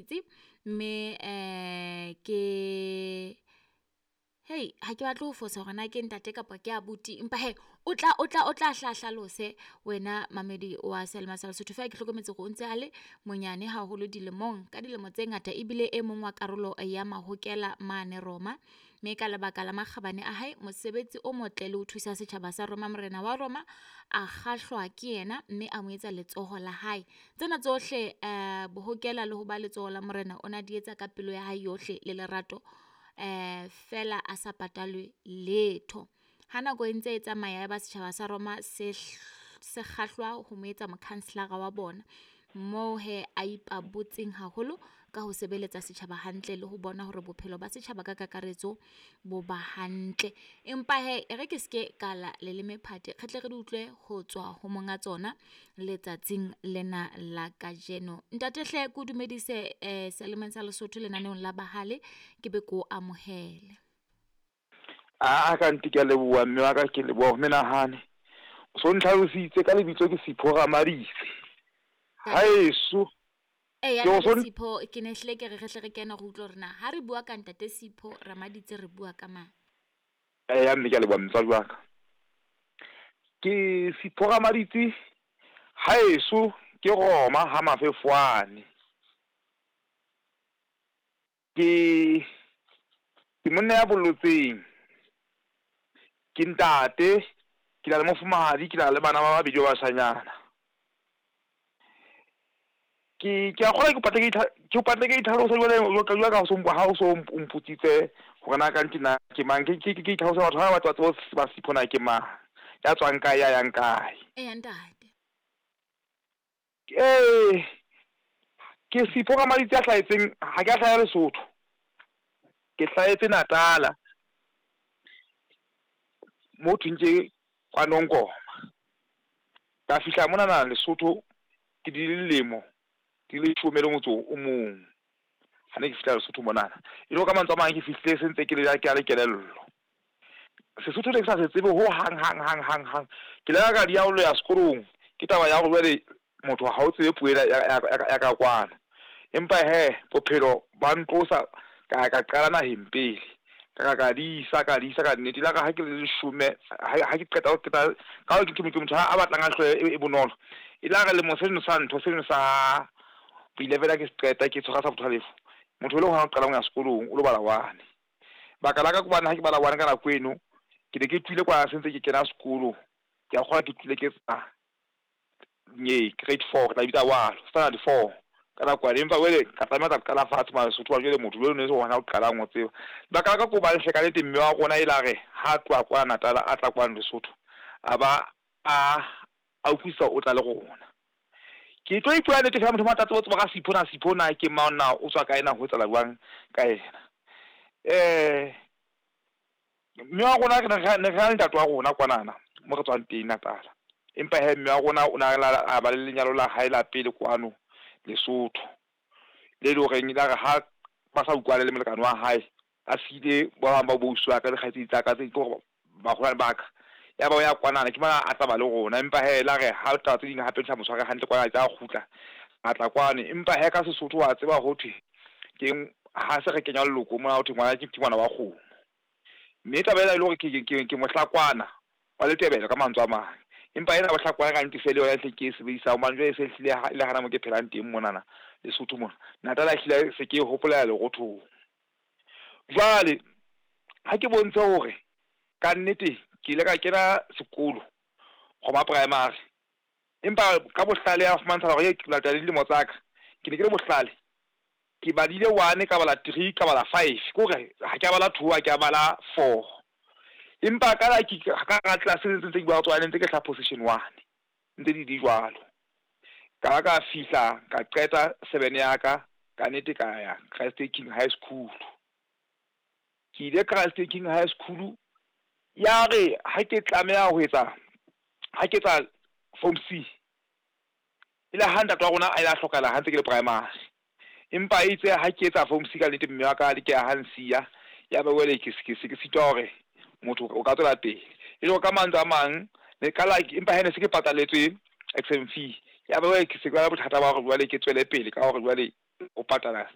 Ramaditsi mme ke hei ha ke batle ho fosa hore na ke ntate kapa ke abuti, empa he o tla o tla o tla hla hlalose wena mamedi wa Selma sa Lesotho. Feela ke hlokometse hore o ntse a le monyane haholo dilemong, ka dilemo tse ngata ebile e mong wa karolo ya Mahokela mane Roma. Mme ka lebaka la makgabane a hae, mosebetsi o motle le ho thusa setjhaba sa Roma, morena wa Roma a kgahlwa ke yena mme a mo etsa letsoho la hae. Tsena tsohle bohokela le ho ba letsoho la morena o na di etsa ka pelo ya hae yohle le lerato feela a sa patalwe letho. Ha nako e ntse e tsamaya ya ba setjhaba sa Roma se se kgahlwa ho mo etsa mokhanselara wa bona. Moo hee a ipabotseng haholo ka ho sebeletsa setjhaba hantle le ho bona hore bophelo ba setjhaba ka kakaretso bo ba hantle. Empa hee e re ke seke ka la leleme phate, re tle re di utlwe ho tswa ho monga tsona letsatsing lena la kajeno. Ntate hle ke o dumedise selemeng sa Lesotho lenaneong la Bahale, ke be ko amohele. Aa ka nnete ke a leboha mme wa ka, ke leboha ho menahane. O so ntlhalositse ka lebitso ke Sipho Ramaditse. Haeso Eya ke o ntate so Sipho, ke ne hlile ke re re hle re kene re utlwe hore na ha re bua ka ntate Sipho Ramaditse re bua ka mang. Eya mme ke a leboha motswadi wa ka. Ke Sipho Ramaditse haeso ke Roma ha Mafefwane. Ke ke monna ya bolotseng. Ke ntate, ke na le mofumahadi, ke na le bana ba babedi ba bashanyana. Ke a kgolwa ke patle ke ke patle ke itlhalosa jwale jwalo ka jwalo ka ha o so o mpotsitse hore na kannete na ke mang. Ke itlhalose batho ha ba batla ba tsebe ho tseba Sipho na ke mang, ya tswang kae, ya yang kae. Eya ntate. Ee, ke Sipho Ramaditse a hlahetseng, ha ke a hlaha Lesotho. Ke hlahetse Natala mo thweng ke KwaNongoma. Ka fihla monana Lesotho ke di lemo di leshome le motso o mong ha ne ke fihla Lesotho monana. E le hore ka mantswe a mang ke fihlile se ntse ke le ke na le kelello. Sesotho ne ke sa se tsebe ho hang hang hang hang hang. Ke ile ka di ya ho ya sekolong ke taba ya hore jwale motho ha o tsebe puo ena ya ka kwano. Empa hee bophelo ba ntlosa ka ya ka qala naheng pele. Ka di isa ka di isa ka nnete. Elare ha ke le leshome ha ke qeta ho qeta ka hore ke motho a batlang a hlooho e bonolo. E la re lemo seno sa ntho seno sa bo 11 ha ke se qeta ke tshwara sa bo 12. Motho e le hona o qalang ho ya sekolong o lo bala 1. Baka la ka ke hobane ha ke bala 1 ka nako eno ke ne ke tlohile kwa se ntse ke kena sekolo. Ke a kgolwa ke tlohile ke etsa grade 4 re tla e bitsa jwalo, standard 4 ka nako yane. Empa jwale ka tlameha ho tla qala fatshe mane Lesotho hobane jwale motho jwale o ne se hona o qalang ho tseba. Lebaka la ka ke hobane hle kannete mme wa rona e la re ha tloha kwana Natala a tla kwano Lesotho, a ba a utlwisisa o tla le rona. Ke tlo ipuela nnete fela motho o batla a tsebe ho tseba ka Sipho na Sipho na ke mang na o tswa kae na ho etsahala jwang ka yena. Mme wa rona re ne re na le ntate wa rona kwanana mo re tswang teng Natala. Empa hee mme wa rona o na a ba le lenyalo la hae la pele kwano Lesotho. Le leng horeng elare ha ba sa utlwane le molekane wa hae, a siile ba bang ba bo ausi wa ka le kgaitsedi tsa ka tse ke hore baholwane ba ka. Ya ba o ya kwanana ke mona a tla ba le rona. Empa hee elare ha taba tse ding hape di sa mo tshware hantle kwana a kgutla, a tla kwano. Empa hee ka Sesotho wa tseba ho thwe keng ha se re kenya leloko mona ho thwe ngwana ke ngwana wa kgomo. Mme taba ena e le hore ke mohlakwana wa Letebele ka mantswe a mang. Empa ena bohlakwana ka nnete se le yona e hle ke e sebedisang hobane jwale e se hlile e le hana mo ke phelang teng monana Lesotho mona. Natala ehlile se ke e hopolela lerothong. Jwale ha ke bontshe hore ka nnete ke ile ka kena sekolo Roma Primary. Empa ka bohlale ya fumantsha hore ke latela le dilemo tsa ka, ke ne ke le bohlale. Ke badile 1 ka bala 3 ka bala 5, ke hore ha ke a bala 2 ha ke a bala 4. Empa ka la ke ka hara class ntse ke bua ka tsona ntse ke hlaha position 1 ntse di di jwalo. Ka ba ka fihla ka qeta 7 ya ka, ka nnete ka ya Christ King High School. Ke ile Christ King High School ya re ha ke tlameha ho etsa ha ke etsa form C, e le ha ntate wa rona a ile a hlokahala ha ntse ke le primary. Empa itse ha ke etsa form C ka nnete mme wa ka ke ha nsiya, ya ba jwale ke se ke sitwa hore motho o ka tswela pele. E le hore ka mantswe a mang ne ka la empa hee ne se ke pataletswe exam fee. Ya ba jwale ke se ke ba le bothata ba hore jwale ke tswele pele ka hore jwale ho patala